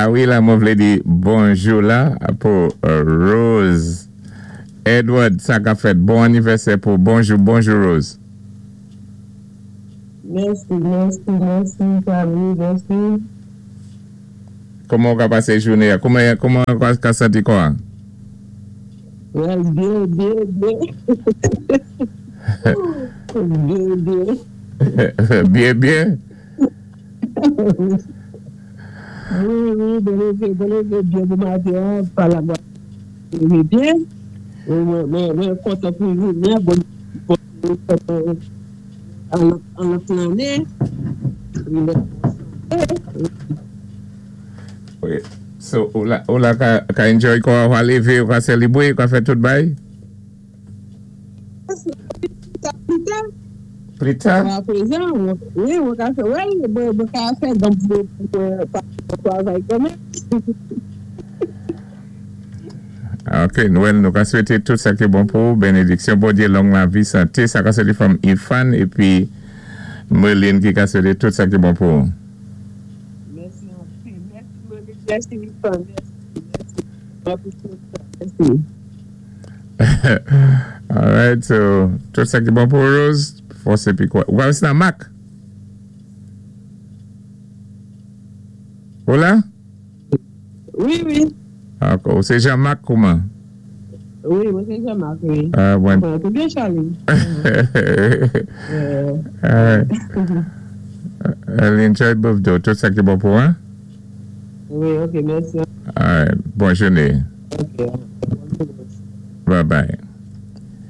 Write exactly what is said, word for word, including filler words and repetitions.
A wi, la, mwen vlé di bonjou la pou euh, Rose Edward, sa ka fèt. Bon anivèsè pou bonjou, bonjou Rose. Mèsi, mèsi, mèsi, Charlie, mèsi. Kouman ou ka pasé jouné? Kouman kouman ou ka santi kwa? Well, byen, byen, byen. Byen, byen. Byen, byen. Wi, wi, mwen lévé, mwen lévé byen bon maten, pa la lévé byen. Mwen, mwen, mwen kontan pou jounen, bon, bon, bon, an lòt lanné. Wi, Wi. So, ou la, ou la ka, ka enjoy kwa, ou ka lévé, ou ka sélébwé, ou ka fè tout bay? Plita. Plita? A prezan, wi, mwen ka fè, wè, mwen mwen ka fè, donk mwen mwen travay kanmenm. Ok, nou nou ka swété tout sa ki bon pou, bénédiksyon, Bondyé, long lavi, santé, sa ka swété from Ifan, épi Merlin ki ka swété tout sa ki bon pou. Mèsi anpil. Mèsi, Merlin, mèsi, Ifan, mèsi, mèsi. Mèsi, mèsi. Alright, so, tout sa ki bon pou Rose, fòs épi kwa. Ou ka nan Mac? Ou la? Wi, wi. Ok, ou sé Jean-Marc kouman? Wi, mwen sé Jean-Marc, wi. Ah, bon. Bon, tout byen, Charlie. Euh, Alright. Enjoy birthday, tout sa ki bon pou, hein? Wi, ok, mèsi. Alright, bon jouné. Ok. Bye bye.